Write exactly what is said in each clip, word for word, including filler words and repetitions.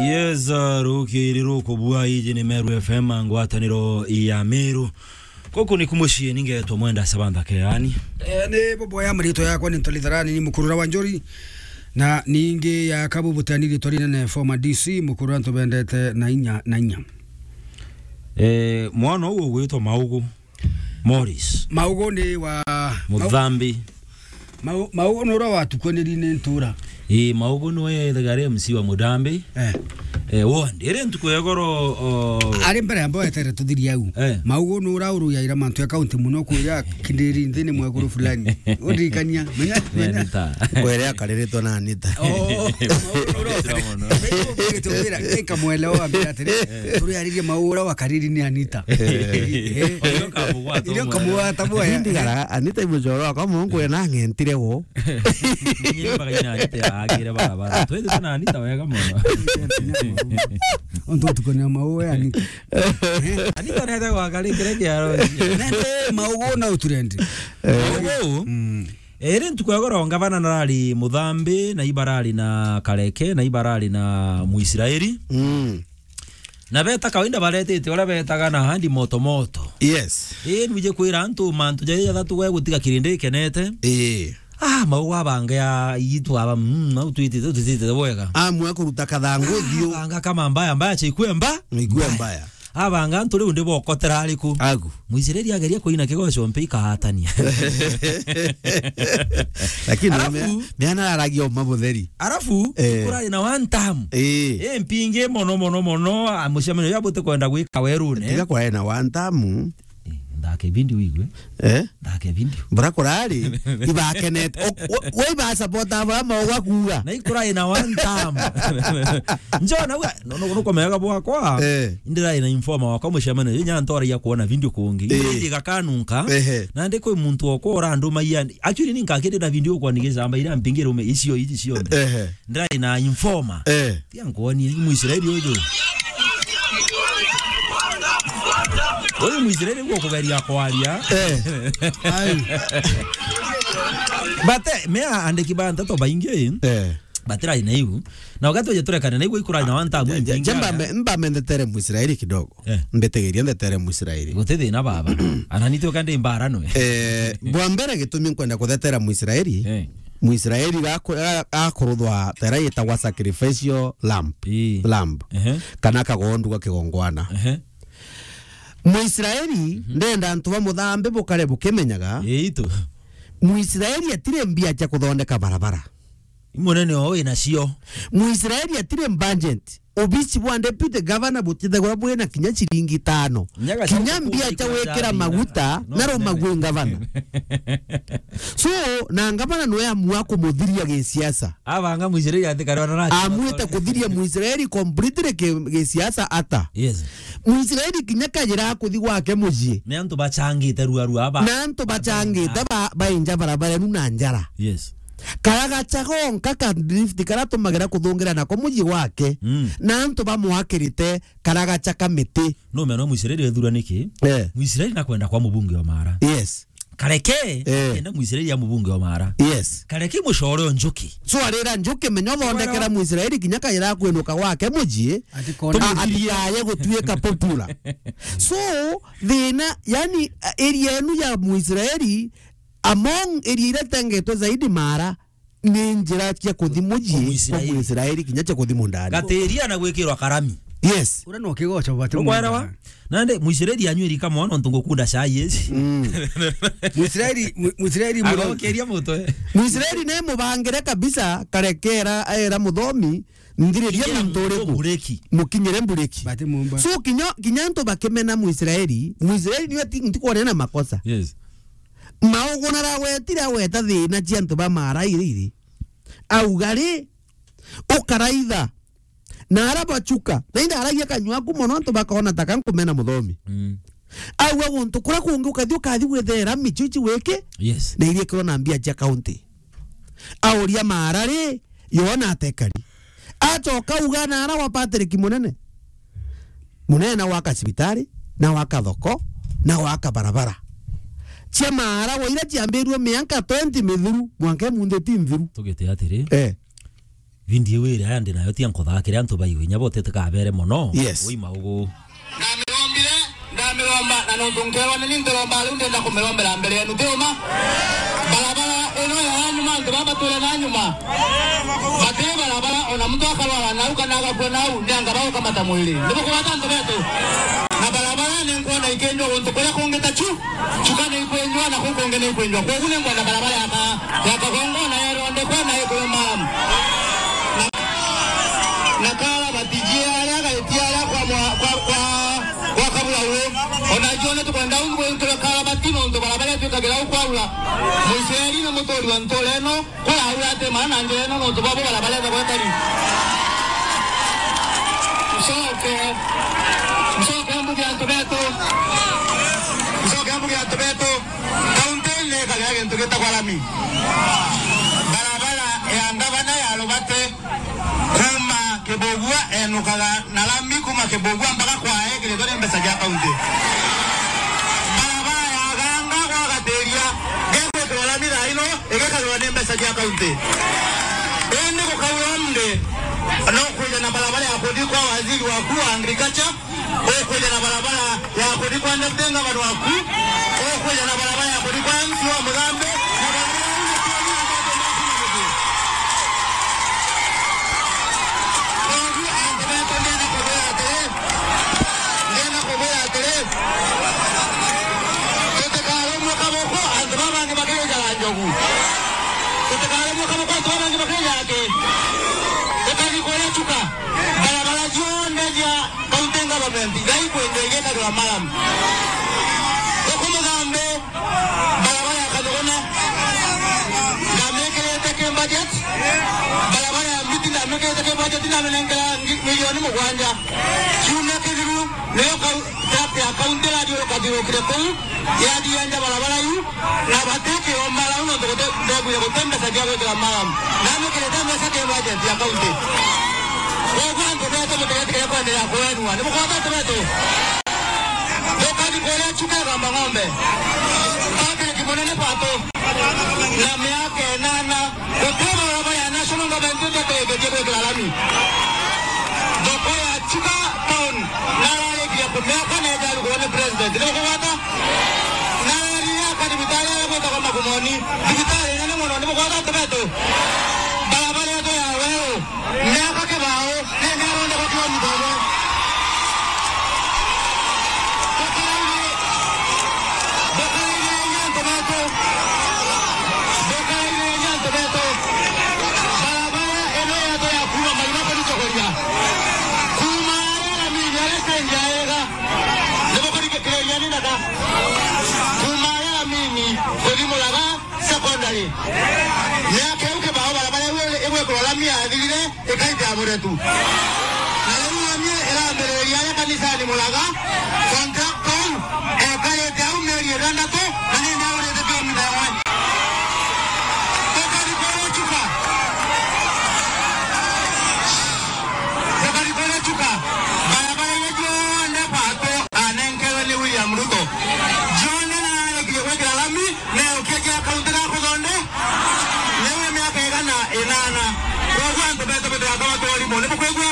Yes, uh, rukiri rukubua, iji ni Meru F M, ngwataniro ya Meru. Guku ni kumucii, ningetwa Mwenda Sabantha Keani. Eh, ni bobo ya marito yakwa ni Ntoli Tharani, ni mukurura wa Njori. Na ningi ya kabu butani ritwa rinene, former D C, mukurura ntubendete na inya, na inya. Eh, mwana uu ugwitwa Maugu. Morris. Maugu ni wa Muthambi. Mau-, Maugu ni uria watukaniri ni ntura. Ii, Maugu niwe ethaga ari M C wa Muthambi. Eh. Eh, ward. Iri ntuku ya igoro, o- Ari mbere ya mbo etere tuthirie au. Eh. Maugu ni uria uruyaira mantu ya kaunti muno kuria kindiri nthini mwekuru fulani. Undirikania, menya, menya. Anita. Kwere akariritwo na Anita. Oh, Maugu ni uria Anita mono. Nikamuelewa, ambira atiri, turiaririe Maugu uria wakariri ni Anita. Eh. Oyo kamugwata. Ndio kamugwata boya. Ndigara, Anita i mucoro wakwa, mungu ena ng'entire wo. Nyiri mpaka ina Anita agire barabara. Twende tuna Anita wega mono. Onto tukone Maugu ya Anita. Anita nete gwaka rikire kiaro. Nete Maugu na uturendi. Maugu. Mm. Iri ntuku ya goro ngavana narari Muthambi, na ibarari na Kareke, na ibarari na Muisraeli. Mm. Na beta kawaida baretete uria betaga na handi moto moto. Yes. Ii, nwije kwira antu mantu jaja jathatu gwe gutiga kirindi ikenete. Ii. Ah, Maugu abanga ya itu aba, mm, au twitite, twitite bwega. Amwe kuruta kathangu thiu. Abanga kama mbaya, mbaya cha ikue mba. Ikue mbaya. Abanga antu riu ndibokotera ariku. Agu. Muisraeli ageria kuina kigoco mpe ikahatania. Lakini Arafu, mea-, meana aragia uma butheri. Arafu, eh, kurari na one term. Eh. Eh, mpingi mono, mono, mono, ah, mucemanio ya buti kwenda gwika werune. Tiga kwa ena one term. Eh, ndake video igwe. Eh? Ndake video. Bura kurari, ibakenete. O-, o-, we iba support aba ama oga kuga. Na ikura ina one term. Njona we, no, no, no komega bwakwa. Eh. Indira ina informer wakwa mucemanio, nya ntoragia kuona video kungi. Eh. Indi gakanunka. Ehe. Na ndi kwi muntu okwa uranduma yani. Actually, ni nkakiri na video kwa nigicamba ira mpingire ume icio iji cionthe. Ehe. Ndrai na informer. Eh. Tia nkuonie, uyu Muisraeli uyu. Uyu Muisraeli ugu kugeria kwaria. Eh. Ai. But, eh, me aandiki ba nteto baingi, eh, batirai na iu. Na wakati waje turekane na iu ikura na one term. Ja-, ja-, mpingi ja aya. Mba me-, mba mendetere Muisraeli kidogo. Eh. Mbitigiria ndetere Muisraeli. Guti thina baba. Ana ni tuka ndi mbara nwe. Eh, bwa mbere gitumi nkwenda kuthetera Muisraeli. Eh. Muisraeli gaku-, ga-, gakuruthwa tera yitagwa sacrificial lamb. Ii. Lamb. Ehe. Kana kagondua kigongwana. Ehe. Muisraeli, mhm, ndenda antu ba Muthambi bukare bukimenyaga. Ii, itu. Muisraeli atire mbia cia kuthondeka barabara. Munene oo wina cio. Muisraeli atire budget. Obici bwa deputy governor butithagwa bwina kinya ciringi itano. Nyaga kinya cia mbia cia gwikira maguta, no, na rumagwe ngavana. So, na ngavana nwe amua kumuthiria gisiasa. Abanga Muisraeli ati kare ona na amwite kuthiria Muisraeli completely ki-, gisiasa ata. Yes. Muisraeli kinya kajira kuthi gwake mucii. Ni antu bachangite rua rua aba. Na antu bachangite ba-, bainja barabara nu na njara. Yes. Karagacha gonka ka lift karatumagira kuthungira nako mucii gwake. Mm. Na antu bamwakirite karagacha ka miti. No meno Muisraeli ethura niki? Eh. Muisraeli nakwenda kwa mubunge wa Mara. Yes. Kareke, eh, enda Muisraeli ya mubunge wa Mara. Yes. Kareke mucore o Njuki. So arira Njuki menya uthondekera Muisraeli kinya kaira kwinuka gwake mucii. Ati kona. A-, atikaye gutuika popular. So, thina, yani, area enu ya Muisraeli, among area iria itengetwe zaidi Mara, ni njira cia kuthi mucii, kwa Muisraeli. Kwa Muisraeli, kinya cia kuthi mundani. Gatiria na gwikirwa karami. Yes. Ura no kigoco bati. Ukwerewa? Nande, Muisraeli anywe rika mwana, ntu ngukunda chai eci. Mm. Muisraeli, Mu-, Muisraeli muro-, agokeria mutwe. Muisraeli ne mubangire kabisa, karekera, aera muthomi, nthiriria muntu uriku. Mukinyire mbureki. Bati mumba. So, kinya, kinya antu bakimena Muisraeli, Muisraeli niwe ti-, ntikwona na makosa. Yes. Maugu naragwetire agweta thina cia antu ba Mara iri iri. Auga ri, ukaraitha. Na ara bachuka. Na inda aragia kanyua aku mono antu bakona ta kankumena muthomi. Mm. Auga guntu kuria kungi ukathi ukathi gwithera michichi wiki. Yes. Na iria kirona mbia cia county. Auria Mara ri, yona atekari. Acoka uga na ara wa Patrick Munene. Munene na gwaka cibitari, na gwaka thoko, na gwaka barabara. Cia Mara wa iria ciambirue mianka twenty mithiru, mwanka imunthi ti nthiru. Tugite atiri. Eh. Video iria ndi nayo tia nkuthaakire antu baiwe inya botete kabere mono. Yes. Ui maugu. Ndamirombire, ndamiromba, na nontu nkeerwa ni ni ntiromba, riu ndenda kumirombera mbere yenu, ti uma? Barabara ino ya nyuma, antu baba batwire na nyuma. Batiri barabara, ona muntu akarwara nau kana agakua nau, ni anga bagukamata mwiri. Ni bukugwata antu betu? Na barabara ni nkwona ikinjwa guntu kuria kungi ta chu. Chuka ni ikwenjwa na kuku kungi ni ikwenjwa. Kwogu ni ngwenda barabara ya ka-, ya Kagongona ya Ronde kwena ikuyu maram. Na, na karabati jia aria gaitia aria kwa mwa-, kwa, kwa, kwa Kabura uu. Ona jio ni tukwenda ungu ntu karabati nontu barabara twikagira u kwaura. Muisraeli ni muturi wa ntura ino. Kuraura ati maana njira ino nontu bwabo barabara ethagwa itari. Ncoke, ncoke mbuge antu betu. Ncoke mbuge antu betu. Kaunti ni ikagira gintu gitagwa rami. Barabara ya ngavana ya Rubate kuma Kibugua enukaga na rami kuma Kibugua mpaka kwae kiritwe ni mbeca cia kaunti. Barabara ya Ganga gwa Gatiria gegwikirwa rami thaa ino igikagirwa ni mbeca cia kaunti. Indi gukaura ndi, no kwija na barabara ya kuthi kwa waziri waku wa agriculture, ukwija na barabara ya kuthi kwa deputy governor waku, ukwija na barabara ya kuthi kwa M C wa Muthambi, na barabara iu ni kweli na ndoto maku na muthii. Koguo antu betu ndienda kubwira atiri, ndienda kubwira atiri, tutikarumwe kaboko antu baba bangi bakirijaga njogu. Tutikarumwe kaboko antu baba bangi bakirijaga ki? Tukari kuria Chuka. Barabara cionthe cia County government, igai kwinjwa igekagirwa maram. Guku Muthambi, barabara ya Kathugune, ndamikirite ki budget, barabara ya Mbiti ndamikirite ki budget, ndaminengera ngi-, milioni mugwanja. Kiumia kithiru, niyo kau-, truck ya county irathii rukathiurukire kuu, yathii yenja barabara iu, na bati kiomba rau nontu guti, ndegwire guti mbeca cia gwikira maram. Namikirite mbeca ki budget ya county. Koguo antu betu butigetigire kwenderea kwenua. Ni mukota antu betu? Tukathi kuria Chuka Igamba Ng'ombe. Patrick Munene Pato. Na miaka inana. Guti barabara ya national government itategetie gwikira rami. Thoko ya Chuka town nararikirie kumiaka na ijarugurwa ni president. Ni mukugwata? Narariaka thibitari aria gwitagwa Magumoni. Thibitari inene mono. Ni mukugwata antu betu? Barabara yetu ya Weru. Miaka kibao, ni, ni aronde kwa kilomita imwe. Ndukaraire, ndukaraire inya antu betu. Ndukaraire inya antu betu. Barabara ino yetu ya kuuma Maina kuthi Chogoria. Kuuma aria Ramini, aria stage ya Ega. Ni mukurikiria ni ndaka. Kuuma aria Ramini kuthi Muraga. Secondary. Miaka iu kibao barabara iu igwikirwa rami yathirire, ikaita ya Muretu. Na riu rami irambiriria aria kanisani Muraga, contractor u ekarite au mieri ithandatu, na ni ndaurite kilomita imwe. Tukari kuria Chuka. Tukari kuria Chuka. Barabara iria cionthe Pato anenkerwe ni William Ruto. Cionthe nararekirie gwikira rami, Neokia kia kaunti ga kuthonde, newe miaka igana inana. Koguo antu betu butigakaba twarimo. Ni bukwigua?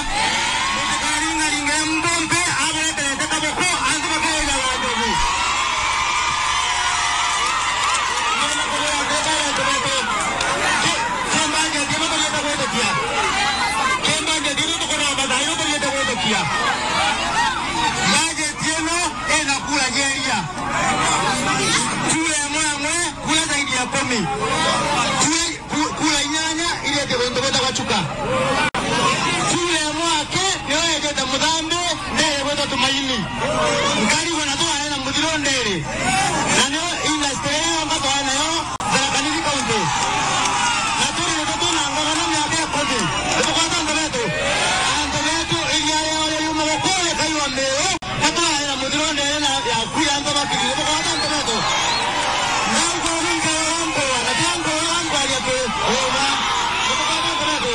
Mutikaringaringe muntu umpe abureterete kaboko, antu bakirira wa njogu. Ndienda kubwira ati bari antu betu. Ki, ki budget ino turiete gwitikia. Ki budget ino tukuromba thaa ino turiete gwitikia. Budget ino ina kura cia iria. Kura imwe imwe, kura zaidi ya kumi. Kura, ku-, kura inyanya iria iti guntu gwitagwa Chuka. Kura imwe aki niyo yetete Muthambi, ndere gwitwa Tumaini. Nkarigwa na tware na muthiro ndere. Na niyo industry iria yonka tware nayo Tharaka Nithi County. Na turi nitwe twina ngavana miaka ikuthi. Nitukwata antu betu. Antu betu iria riao riuma gukuu rikaiwa miu. Gatwaraira muthiro ndene na yaku ya antu bakirire, bukagwata antu betu. Ndauga uri nkarora nkorwa, na tiga nkorwa nkwaria turi uma. Bukagwata antu betu.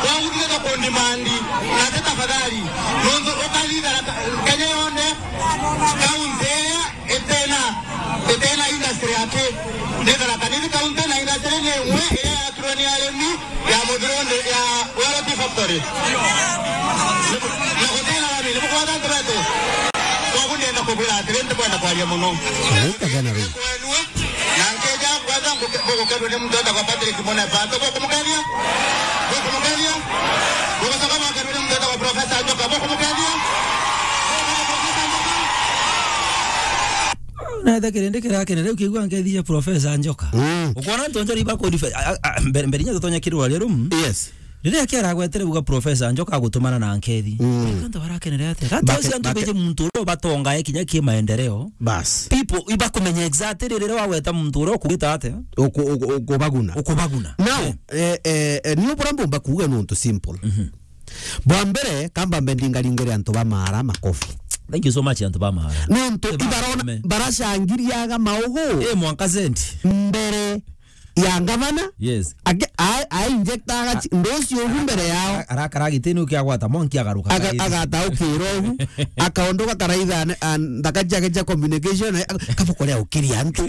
Kwagutire ta kundimandi, na ti tafadhali. Nontu ukathithara ka-, Kenya yonthe, kaunti iria itena, itena industry aki. Ni Tharaka Nithi kaunti na industry ni imwe iria yakirwe ni arimi ya muthiro nde-, ya Sorry. Na gutira rami, ni mukwata antu betu. Koguo ndienda kubwira atiri, ntikwenda kwaria muno. Araita gana riu. Kwenu, na nkija kwanza nguke-, ngugukerwa ni muntu wetagwa Patrick Munepa. Antu bukumukethia? Bukumukethia? Bugucoka bugukerwa ni muntu wetagwa Professor Njoka. Bukumukethia? Professor Njoka? Na etha kirindi kirakenera, ukigua nkethia Professor Njoka. Mm. Ukwona antu nja riba kodi fe-, a, a, a, mbere, mbere inya tutonya kirwa rero, mm. Yes. Riria kiaragwetere buga Professor Njoka agutumana na nkethi. Mm. Antu barakenere atia? Antu bake-, acio antu bake- beje muntu uria ubatongae kinya ki maendeleo. Bas. People ibakumenya exactly riria wagweta muntu uria ukugita atia? Uku-, uku-, ukubaguna. Ukubaguna. Now, eh, eh, eh, eh, ni ubura mbumba kuuga nuntu simple. Mhm. Bwa mbere, kamba mbe ndingaringire antu ba Maara makofi. Thank you so much, antu ba Maara. Nuntu ibarona, baracangiriaga maugu. Eh, mwanka cent. Mbere ya ngavana. Yes. Ake-, a-, a injectaga chi-, ndosi ugu mbere yao. Ara-, arakara gitini ukiagwata monki agaruka. Aga-, agataukira ugu. Akaondoka karaitha ne-, a, nthaka ciake cia communication, eh, kabukoria ukiria antu.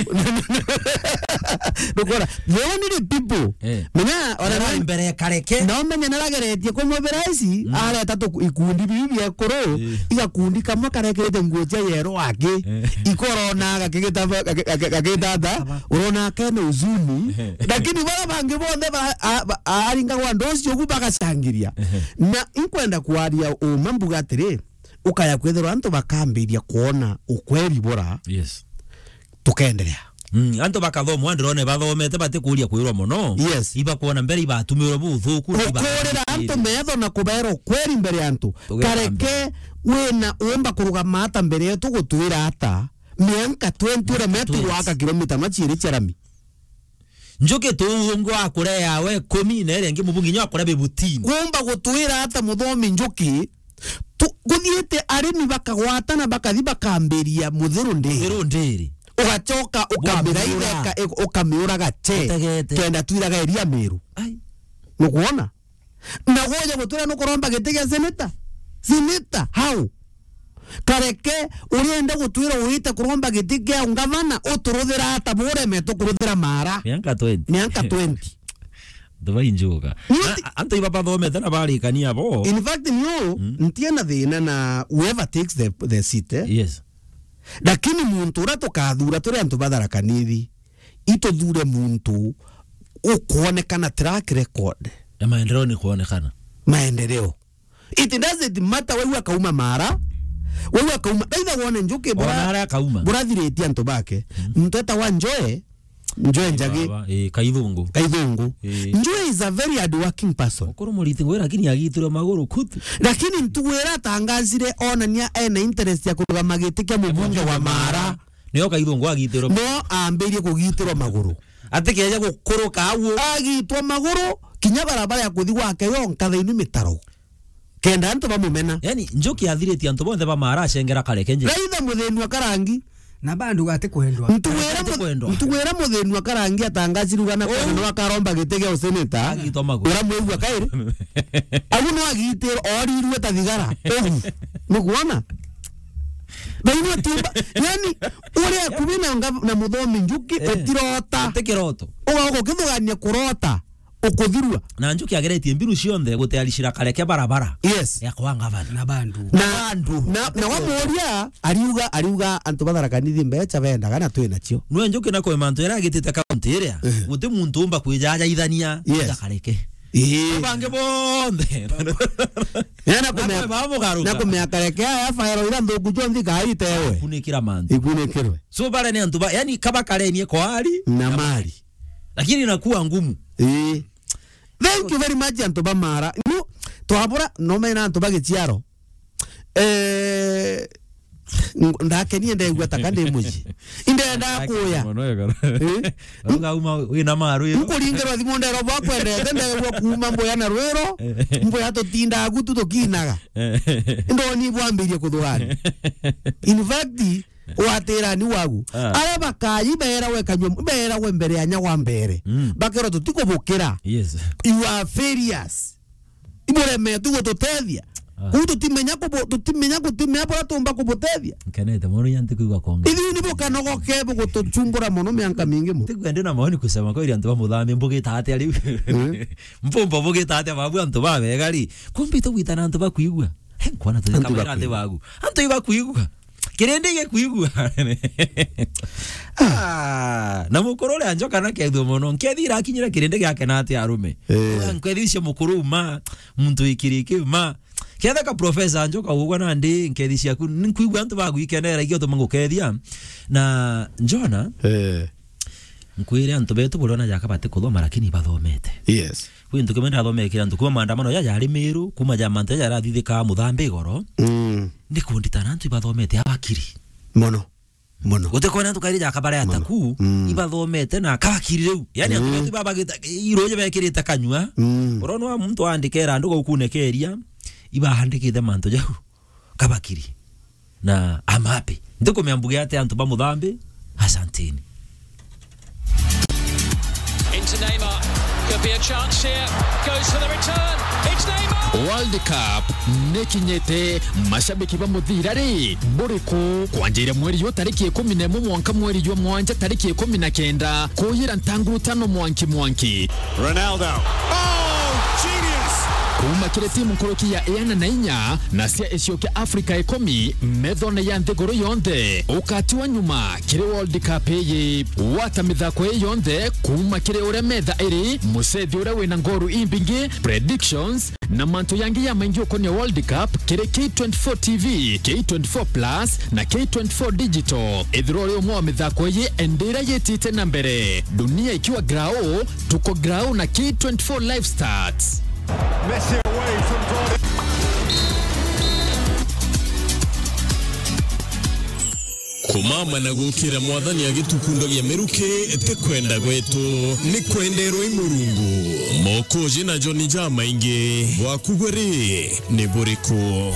Ndukora, the only people. Eh. Menya, ona nara na mbere kareke. Na umenye narageretie kumubira ici, mm, areta tu ikundi bibi bia kuru, eh, igakundi kamwe karekete nguo cia yero aki. Eh. Ikorona gakigita-, gaki-, gaki-, gakitata. Urona kene uzuni. Lakini bara bangi bonthe ba-, a-, ba-, aringagwa ndosi ugu bagacangiria. Ehe. Na inkwenda kwaria uma mbuga atiri, ukaya kwithirwa antu bakambiria kwona ukweri bura. Yes. Tukenderea. Mm, antu bakathomwa, ndirone bathomete batikuria kwirwa muno. Yes. Ibakwona mbere ibatumirwe buthuku, gukurira antu metho na kubera ukweri mbere ya antu. Kareke wina umba kurugama ata mbere yetu gutwira ata? Mianka twenty uria metu gwaka kilomita machiiri cia rami. Njuki tu ungu akurea we kumi na iria ingi mubungi nyo akurea bibutini. Kumba gutwira ata muthomi Njuki? Tu-, guthiite arimi bakagwatana bakathi bakambiria muthiru ndiri. Muthiru ndiri. Ugacoka ukambira itheka, ukamiuraga che. Utegete. Kenda twiraga iria Miru. Ai. Nukwona? Na gwoja gutwira nukuromba giti gia seneta? Seneta, how? Kareke, urienda gutwira uite kuromba giti gia ungavana, uturuthira ata bureme tukuruthira Maara? Mianka twenty. Mianka twenty. Ndubai njuga. Ni uti- Na, antu iba bathomete na barikania bo. In fact, niu, mm, ntiena thina na whoever takes the, the seat, eh? Yes. Lakini muntu uria tukathura turi antu ba Tharaka Nithi, ituthure muntu ukwonekana track record. Ya maendeleo ni kuonekana. Maendeleo. It doesn't matter wewe akauma Maara, wewe akauma. Ndaitha wone Njuki bura-, ona aria akauma. Burathiritie antu bake. Mm. Muntu etawa Njoe, Njoe Njagi. Baba, eh, Kaithungu. Kaithungu. Eh. Njoe is a very hardworking person. Ukuru muriti ngwe, lakini agitirwe maguru kutu. Lakini ntugu ira atangazire onania ena interest ya kurugama giti kia mubunge wa Maara. Nio Kaithungu agitirwe. No ambirie kugitirwa maguru. Atikeja gukuruka au. Agitwa maguru, kinya barabara ya kuthi gwake yonka thaini mitaro. Kenda antu bamumena. Yani, Njuki athiritie antu bonthe ba Maara acengera Kareke nje. Raitha muthini wa Karangi. Na bandu gati kwendwa. Ntuwira mu-, ntuwira muthini wa Karangi atangazirugana kwenda no akaromba giti gia useneta. Agitwa maguru. Uramwigua kairi? Au no agitira, orirue ta thigara. Ugu. Nukwona? Baigua timba. Yani, uria kubi na nga-, na muthomi Njuki, eh, utirota. Ti kiroto. Uga-, ukithugania kurota. Ukuthirua. Na Njuki ageretie mbiru cionthe gutayarishira Kareke barabara. Yes. Ya kwa ngavana. Na bandu. Na, na bandu. Na, na wamuria, ariuga, ariuga antu ba Tharaka Nithi mbecha bendaga na twi nacio. Nwe Njuki na kwe mantu era agitite kaunti iria, eh, guti muntu umba kwijajaithania, yes, na Kareke. Ii. Bangi bonthe. Na kumea, na kumea Kareke aya faero ira nthuku cionthe ikaitewe. Kunikira mantu. Ikunikirwe. So bare ni antu ba, yani kaba karenie kwa ari na mali. Lakini inakuwa ngumu. Ii. Thank you very much, antu ba Maara. Nu, twabura, no mena antu ba Gichiaro. Eh, ng-, ndakenie ndegua taka ndi muji. Indenda kuya. Mono ya kara. Eh? Uga uma wina maru yo. Nkuringirwa thimu ndero bwa kwendete, ndegua kuuma mbuya na rwiro, mbuya tutinda gutu tukinaga. Eh. Ndoni bwambirie kuthugani. In fact, watirani wagu. Ah. Aria bakayi berawe kanyua, berawe mbere ya nyagwa mbere. Mm. Bakero tutikubukira. Yes. You are failures. Iburemetu gututethia. Ah. Kuu tutimenya kubu-, tutimenya, gutimenya buria tuumba kubutethia. Nkenete mono, inya ntikwigua konga. Ithiu ni bukanogoke bugutuchumbura mono mianka mingi mono. Ntikwenda na maoni kusema kweli, antu ba Muthambi mbugita atia riu? Mm. Mpumba bugita atia babu antu ba bega ri? Kumbe itugwita na antu bakwigua. He, nkwana tu. Antu kabaira bakwigua. Antu bagu. Antu ibakwigua. Kirindi gikwigua. Ah, na mukuru uria Njoka na kethua mono. Nkethi irakinyira kirindi giake na ati arume. Eh. Nkethi cia mukuru uma, muntu ikiriki uma. Ketha ka Professor Njoka ugwa nandi nkethi ciaku, nkwigua antu bagwikenera igio tuma ngukethia. Na Njona, eh, nkwire antu betu buriona jaka batikuthoma lakini ibathomete. Yes. Kwi ntu kimwe ndathomekera antu kuma maandamano ja jari Miru, kuma ja mantu ja jarathithika Muthambi igoro. Mm. Ni kunditana antu ibathomete abakiri. Mono. Mono. Gutikona antu kairi jaka baria ataku, mm, ibathomete na kabakiri riu. Yani antu, mm, betu babagita, iroje bekirite kanyua. Mm. Urona wa muntu aandikera andu gaukunekeria, ibaandikite mantu jau. Kabakiri. Na I'm happy. Ndikumea mbuge ati antu ba Muthambi, asanteni. Into Neymar. Could be a chance here. Goes for the return. It's Neymar. World Cup nikinyite, mashabiki ba muthira ri, buriku? Kwanjira mweri uyu tariki ikumi na imwe mwanka mweri jwa mwanja tariki ikumi na kenda, kuyira ntanguru tano mwanki mwanki. Ronaldo. Oh, genius! Kuuma kiri timu nkuruki ya iana na inya na cia icio kia Afrika ikumi methone ya nthiguru yonthe, ukatiwa nyuma kiri World Cup iyi. Gwata mithako ii yonthe kuuma kiri uria metha iri, mucethi uria wina ngoru imbingi, predictions, na mantu yangi ya maingi ukonia World Cup kiri K twenty-four T V, K twenty-four Plus, na K twenty-four Digital. Ethirwa uri umwe wa mithako iyi, endera yitite na mbere. Dunia ikiwa grao, tuko grao na K twenty-four Live Stats. Messi away from goal. Kumama na gukira Mwathani agitukundagia miruki ti kwenda gwetu, ni kwenderwa i Murungu. Mokoji na Joni jamaingi, bwaku gwe ri, ni buriku?